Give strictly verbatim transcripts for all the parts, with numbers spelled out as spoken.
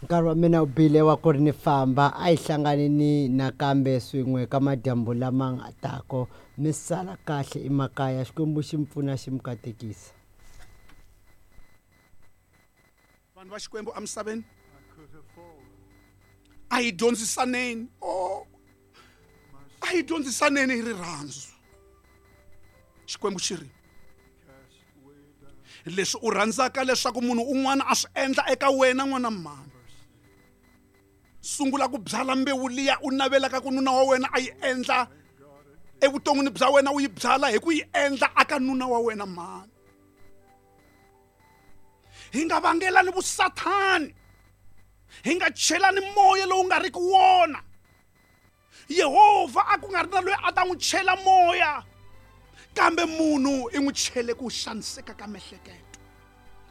Nkarhi wa mina wu bile wa ku ri ni famba a hi hlanganini nakambe swin'we ka madyambu lama nga tako mi sala kahle emakaya Xikwembu xi mi pfuna xi mi katekisa. Vanhu va Xikwembu emisaveni a hi dyondzisaneni oh a hi dyondzisaneni hi rirhandzu. Xikwembu xi ri leswi u rhandzaka leswaku munhu un'wana a swi endla eka wena n'wana mhani, sungula ku byala mbewu liya u navelaka ku nuna wa wena a yi endla evuton'wini bya wena, u yi byala hi ku yi endla aka nuna wa wena mhani. Hi nga vangelani vusathani, hi nga chelani moya lowu nga riki wona. Yehovha a ku nga ri na loyi a ta n'wi chela moya, kambe munhu i n'wi chele ku xaniseka ka miehleketo.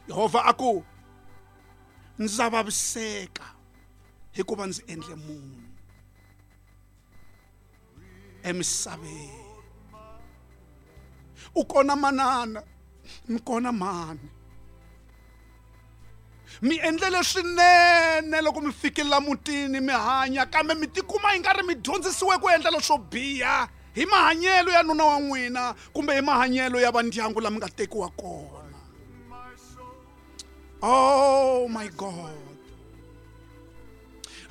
Yehovha a ku ndza vaviseka hikuva ndzi endle munhu emisaveni. U kona manana, mi kona mhani, mi endlele swinene loko mi fikela mutini mi hanya, kambe mi tikuma yi nga ri mi dyondzisiwe ku endla leswo biha hi mahanyelo ya nuna wa n'wina kumbe hi mahanyelo ya vandyangu lama nga tekiwa kona. Oh my God,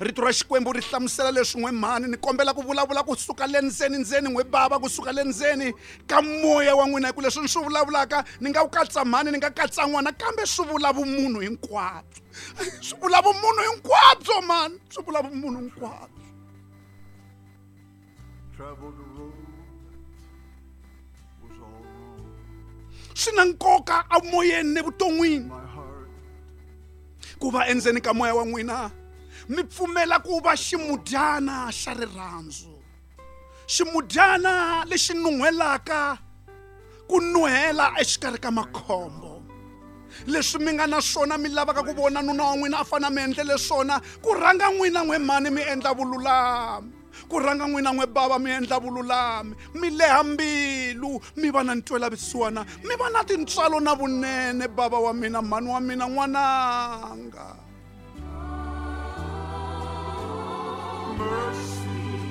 rito ra Xikwembu ri hlamusela leswi n'we mhani. Ni kombela ku vulavula kusuka le ndzeni ndzeni n'we bava, kusuka le ndzeni ka moya wa n'wina, hi ku leswi ni swi vulavulaka ni nga ku katsa mhani, ni nga katsa n'wana, kambe swi vula vumunhu hinkwabyo, swi vula vumunhu hinkwabyo mhani, swi vula vumunhu hinkwabyo. Swi na nkoka emoyeni ne vuton'wini ku va endzeni ka moya wa n'wina mi pfumela ku va ximudyana xa rirhandzu, ximudyana lexi nun'hwelaka ku nuhela exikarhi ka makhombo. Leswi mi nga na swona mi lavaka ku vona nuna wa n'wina a fana mi endlele swona, ku rhanga n'wina n'we mhani mi endla vululami, ku rhanga n'wina n'we bava mi endla vululami, mi leha mbilu, mi va na ntwelavusiwana, mi va na tintswalo na vunene. Bava wa mina, mhani wa mina, n'wananga,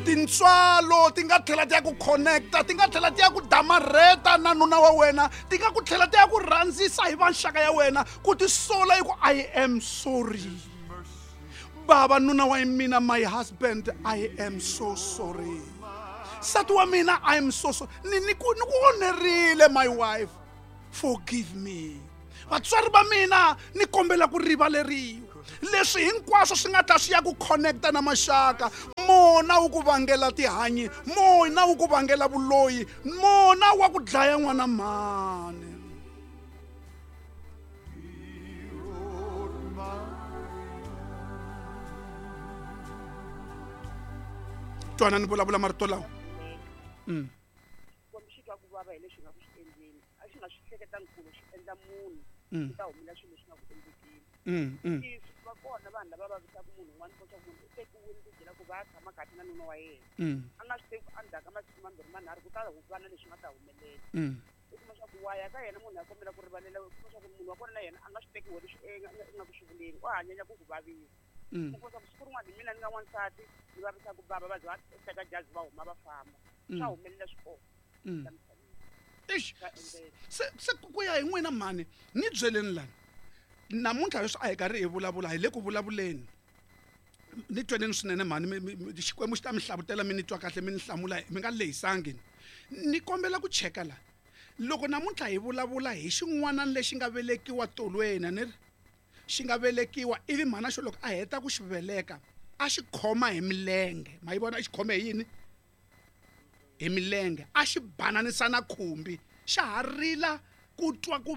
tintswalo ti nga tlhela ti ya ku connecta, ti nga tlhela ti ya ku damarheta na nuna wa wena, ti nga ku tlhela ti ya ku rhandzisa hi vanxaka ya wena, ku tisola hi ku I am sorry. Baba nuna wa mina, my husband, I am so sorry. Nsati wa mina, I am so sorry. Ni ni ku ni ku onherile my wife, forgive me. Vatswari va mina ni kombela ku rivaleriwa. Leswi hinkwaswo swi nga ta swi ya ku connecta na maxaka, mona wu ku vangela tihanyi, mona wu ku vangela vuloyi, mona wa ku dlaya n'wana mhani. Twana ni vulavula marito lawa. Mm. Xikwembu xi twa ku vava hi leswi nga ku swi endleni, a xi nga swi hleketangi ku xi endla munhu ku ta humelela swilo leswi nga ku endlekeni. Swi va kona vanhu lava vavisaka munhu un'wana, ku swa munhu u tekiwile ti byela ku va tshama kahle na nuna wa yena, a nga swi tivi endzhaku ka masiku mambirhi manharhu ku ta va na leswi nga ta humelela. U kuma swa ku wa ya ka yena munhu a kombela ku rivalela, u kuma swa ku munhu wa kona na yena a nga swi teki leswi i nga ku swi vuleni, u hanyanya ku ku vavisa. U kuma swa ku siku rin'wana hi mina ni nga n'wansati ni vavisaka bava, va ze va teka jazi va huma va famba, swa humelela swi kona. Eish, se se ku ya hi n'wina mhani, ni byeleni lani namuntlha leswi a hi karhi hi vulavula hi le ku vulavuleni, ni tweneni swinene mhani, Xikwembu xi ta mi hlavutela mi ni twa kahle, mi ni hlamula mi nga lehisangi. Ni kombela ku cheka la loko namuntlha hi vulavula hi xin'wana lexi nga velekiwa tolweni, ni ri xi nga velekiwa ivi mhana xo loko a heta ku xi veleka a xi khoma hi milenge, ma yi vona i xi khome hi yini? Hi milenge, a xi bananisa na khumbi, xa ha rila ku twa ku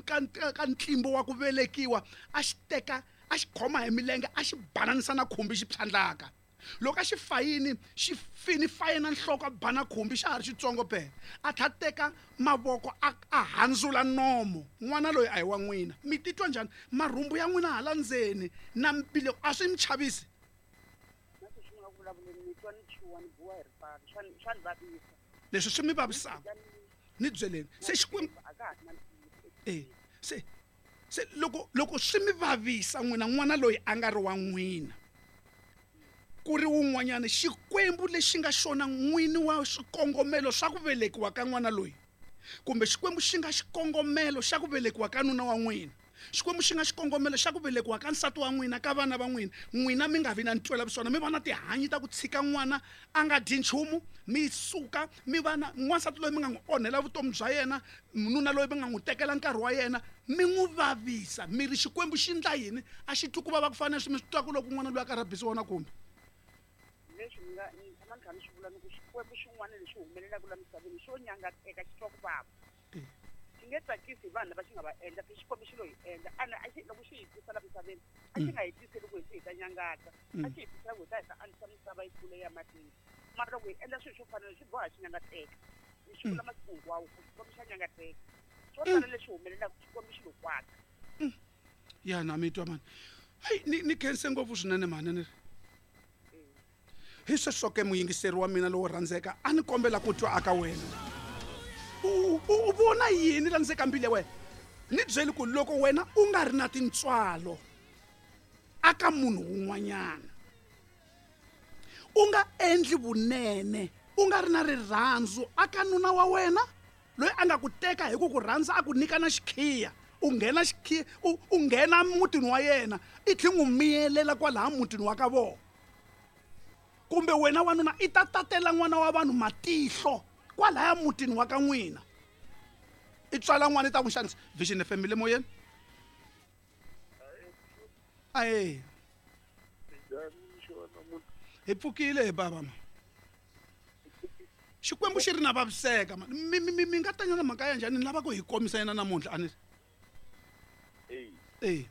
ka ka ntlimbo wa ku velekiwa, a xi teka a xi khoma hi milenge a xi bananisa na khumbi xi phyandlaka. Loko a xi fayini xi fini fayina nhloko a bana khumbi xa ha ri xitsongo phela, a tlha teka mavoko a a handzula nomo. N'wana loyi a hi wa n'wina, mi titwa njhani? Marhumbu ya n'wina hala ndzeni na mbilu a swi mi chavisi? Leswi swi mi vavisaka ni byeleni se Xikwembu eh se Se loko loko swi mi vavisa n'wina n'wana loyi a nga ri wa n'wina ku ri wun'wanyana xikwembu lexi nga xona n'wini wa swikongomelo swa ku velekiwa ka n'wana loyi kumbe xikwembu xi nga xikongomelo xa ku velekiwa ka nuna wa n'wina xikwembu xi nga xikongomelo xa ku velekiwa ka nsati wa n'wina ka vana va n'wina n'wina mi nga vi na ntwela vusiwana mi va na tihanyi ta ku tshika n'wana a nga dyi nchumu mi suka mi va na n'wansati loyi mi nga n'wi onhela vutomi bya yena nuna loyi mi nga n'wi tekela nkarhi wa yena mi n'wi vavisa mi ri xikwembu xi ndla yini a xi twi ku vava ku fana na leswi mi swi twaka loko n'wana loyi a karhi a bisiwa na kumbe leswi ni nga ni tshama ni kha ni swi vula ni ku xikwembu xin'wana lexi humelelaka la misaveni xo nyangateka xi twa ku vava xi nge tsakisi hi vanhu lava xi nga va endla se xikwembu xi lo hi endla ene a xi loko xi hi tisa la misaveni a xi nga hi tiseli ku hi hi ta nyangata a xi hi tisela ku hi ta hi ta andzisa misava yi kula ya mahlweni mara loko hi endla swilo swo fana swi boha xi nyangateka ni xi vula masiku hinkwawo ku xikwembu xa nyangateka swo tala leswi humelelaka xikwembu xi lo kwata ya na mi twa mani hayi ni ni khense ngopfu swinene mhani ni ri hi sweswo ke muyingiseri wa mina lowo rhandzeka a ni kombela ku twa aka wena u u vona yini la ndzeka mbilu ya wena ni byeli ku loko wena u nga ri na tintswalo aka munhu wun'wanyana u nga endli vunene u nga ri na rirhandzu aka nuna wa wena loyi a nga ku teka hi ku ku rhandza a ku nyika na xikhiya u nghena xikhiya u u nghena mutini wa yena i tlhe n'wi miyelela kwalaha mutini wa ka vona kumbe wena wanuna i ta tatela n'wana wa vanhu matihlo kwalaya mutini wa ka n'wina i tswala n'wana i ta n'wi xanisa Vision F M le moyeni ae hi pfukile hi bava ma xikwembu xi ri na vaviseka ma mi mi mi nga tanyana mhaka ya njhani ni lava ku hi komisa yena namuntlha a ni e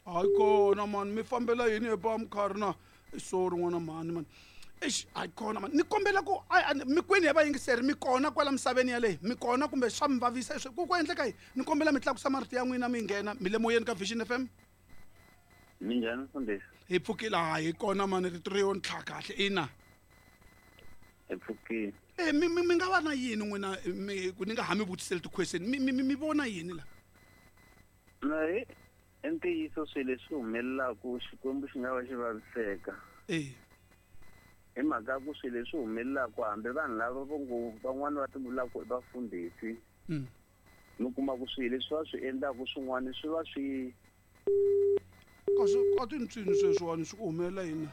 hayi kona mani mi fambela yini hi ba mkhari na sorry n'wana mhani mani eish hayi kona mani ni kombela ku mi kwini ya vayingiseri mi kona kwala misaveni yaleyi mi kona kumbe swa mi vavisa ku ku endleka yini ni kombela mi tlakusa marito ya n'wina mi nghena mi le moyeni ka Vision F M Minjhani mfundhisi hi pfukile hayi kona mani rito ri yo ntlha kahle ina hi pfukile e mi mi nga va na yini n'wina mi ku ni nga ha mi vutiseli ti-question mi mi mi vona yini la na hi i ntiyiso swilo leswi humelelaka xikwembu xi nga va xi vaviseka e hi mhaka ku swilo leswi humelelaka hambi vanhu lava vo ngo van'wani va ti vulaka i vafundhisi mi kuma ku swilo leswi va swi endlaka swin'wana swi va swi kasi a ti ntswini sweswiwani swi ku humelela yini